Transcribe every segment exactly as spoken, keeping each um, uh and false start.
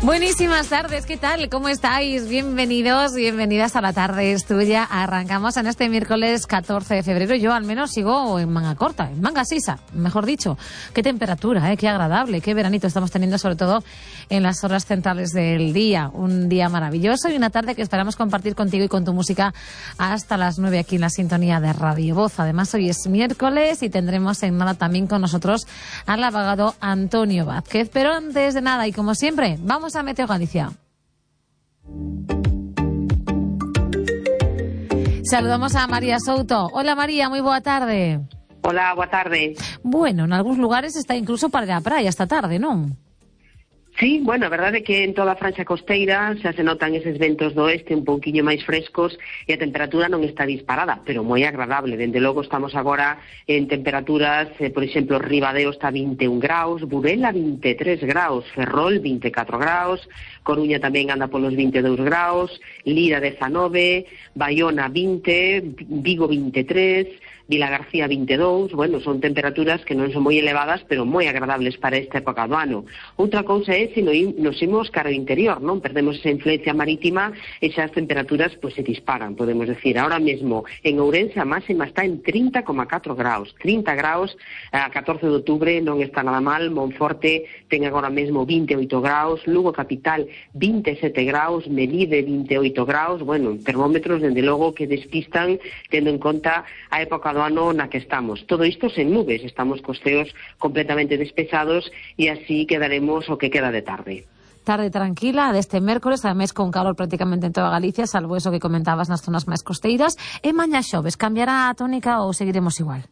Buenísimas tardes, ¿qué tal? ¿Cómo estáis? Bienvenidos, bienvenidas a La Tarde es Tuya. Arrancamos en este miércoles catorce de febrero. Yo al menos sigo en manga corta, en manga sisa, mejor dicho. Qué temperatura, ¿eh? Qué agradable, qué veranito estamos teniendo, sobre todo en las horas centrales del día. Un día maravilloso y una tarde que esperamos compartir contigo y con tu música hasta las nueve aquí en la sintonía de Radio Voz. Además, hoy es miércoles y tendremos en nada también con nosotros al abogado Antonio Vázquez. Pero antes de nada, y como siempre, vamos a Meteo Galicia. Saludamos a María Souto. Hola María, muy boa tarde. Hola, boa tarde. Bueno, en algúns lugares está incluso para ir á praia esta tarde, non? Sí, bueno, a verdade é que en toda a franxa costeira xa se notan eses ventos do oeste un pouquiño máis frescos e a temperatura non está disparada, pero moi agradable. Dende logo estamos agora en temperaturas, eh, por exemplo, Ribadeo está vinte e un graus, Burela vinte e tres graus, Ferrol vinte e catro graus, Coruña tamén anda polos vinte e dous graus, Lira dezanove, Baiona vinte, Vigo vinte e tres, Vilagarcía vinte e dous, bueno, son temperaturas que non son moi elevadas, pero moi agradables para esta época do ano. Outra cousa é se nos imos cara ao interior, non? Perdemos esa influencia marítima e xa as temperaturas pois, se disparan, podemos decir. Ahora mesmo, en Ourense a máxima está en trinta coma catro graus. trinta graus, a catorce de outubro non está nada mal. Monforte ten agora mesmo vinte e oito graus, Lugo capital vinte e sete graus, Melide vinte e oito graus, bueno, termómetros, dende logo, que despistan tendo en conta a época do ano na que estamos. Todo isto sen nubes, estamos cos ceos completamente despejados e así quedaremos o que queda de tarde. Tarde tranquila deste mércoles, ademais con calor prácticamente en toda Galicia, salvo eso que comentabas nas zonas máis costeiras. E mañá xoves, cambiará a tónica ou seguiremos igual?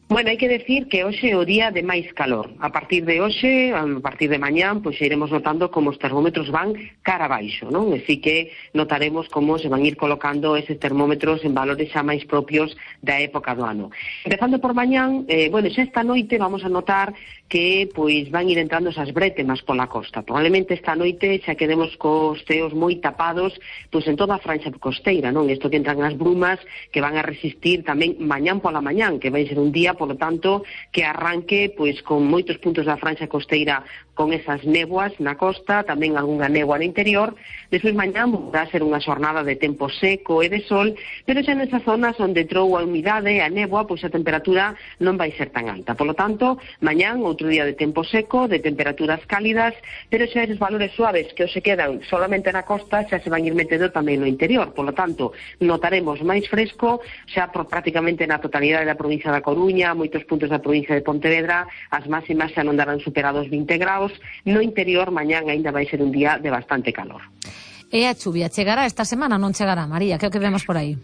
Bueno, hai que decir que hoxe é o día de máis calor. A partir de hoxe, a partir de mañán, pois iremos notando como os termómetros van cara abaixo, non? Así que notaremos como se van ir colocando eses termómetros en valores xa máis propios da época do ano. Empezando por mañán, eh, bueno, xa esta noite vamos a notar que pois van ir entrando esas brétemas pola costa. Probablemente esta noite xa quedemos cos ceos moi tapados pois en toda a franxa costeira, non? Isto que entran as brumas que van a resistir tamén mañán pola mañán, que vai ser un día, polo tanto, que arranque pois con moitos puntos da franxa costeira con esas néboas na costa, tamén algunha néboa no interior. Despois mañán vai ser unha xornada de tempo seco e de sol, pero xa nesas zonas onde entrou a humidade e a néboa, pois a temperatura non vai ser tan alta. Polo tanto, mañán outro día de tempo seco, de temperaturas cálidas, pero xa eses valores suaves que hoxe quedan solamente na costa xa se van ir metendo tamén no interior. Polo tanto, notaremos máis fresco xa por prácticamente na totalidade da provincia da Coruña, moitos puntos da provincia de Pontevedra, as máximas xa non darán superados vinte graus. No interior, mañán aínda vai ser un día de bastante calor. E a chuvia chegará esta semana ou non chegará, María? Que é o que vemos por aí?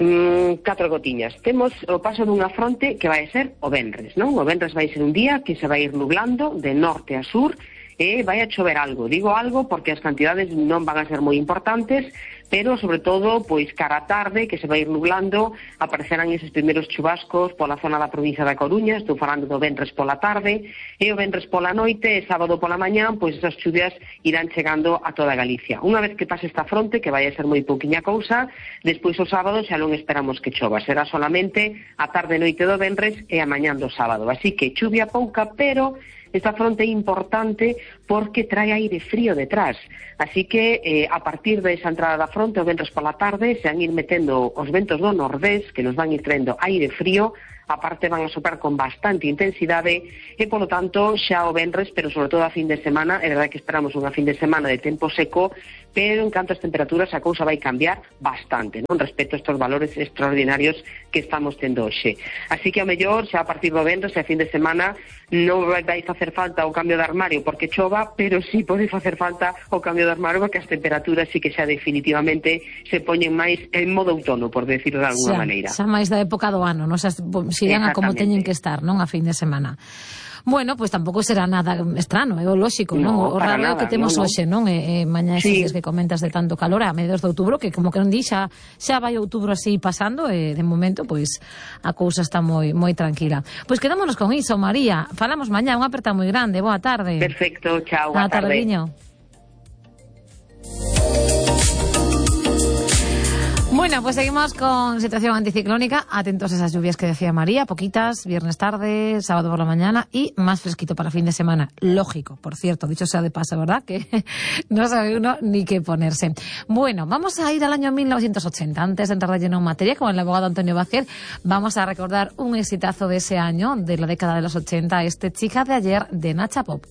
Mm, catro gotiñas. Temos o paso dunha fronte que vai ser o venres, non? O venres vai ser un día que se vai ir nublando de norte a sur e vai a chover algo. Digo algo porque as cantidades non van a ser moi importantes, pero sobre todo, pois cara a tarde, que se vai ir nublando, aparecerán eses primeiros chubascos pola zona da provincia da Coruña. Estou falando do venres pola tarde, e o venres pola noite e sábado pola mañán, pois esas chuvias irán chegando a toda Galicia. Unha vez que pase esta fronte, que vai a ser moi pouquiña cousa, despois o sábado xa non esperamos que chova, será solamente a tarde e noite do venres e a mañán do sábado. Así que chuvia pouca, pero esta fronte é importante porque trae aire frío detrás. Así que eh, a partir desa entrada da fronte, o venres pola tarde, se van ir metendo os ventos do nordés, que nos van ir traendo aire frío, aparte van a soprar con bastante intensidade e, polo tanto, xa o venres, pero sobre todo a fin de semana, é verdade que esperamos unha fin de semana de tempo seco, pero en canto as temperaturas a cousa vai cambiar bastante, non, respecto a estes valores extraordinarios que estamos tendo hoxe. Así que, ao mellor, xa a partir do venres e a fin de semana non vai facer falta o cambio de armario porque chova, pero sí pode facer falta o cambio de armario porque as temperaturas sí que xa definitivamente se poñen máis en modo outono, por decirlo de alguna xa, maneira. Xa máis da época do ano, non? Xa, se irán a como teñen que estar, non, a fin de semana. Bueno, pois pues tampouco será nada estrano, é o lóxico, non? No, o raro é o que temos no, no. hoxe, non? E, e mañá estes sí. que comentas de tanto calor a mediados de outubro, que como que non di, xa, xa vai outubro así pasando, e de momento, pois, a cousa está moi moi tranquila. Pois quedámonos con iso, María. Falamos mañá, unha aperta moi grande. Boa tarde. Perfecto, chao, boa tarde. Boa tarde, Bueno, pues seguimos con situación anticiclónica. Atentos a esas lluvias que decía María, poquitas, viernes tarde, sábado por la mañana y más fresquito para fin de semana. Lógico, por cierto, dicho sea de paso, ¿verdad? Que no sabe uno ni qué ponerse. Bueno, vamos a ir al año mil novecientos ochenta. Antes de entrar de lleno en materia, con el abogado Antonio Vázquez, vamos a recordar un exitazo de ese año, de la década de los ochenta, este Chica de ayer de Nacha Pop.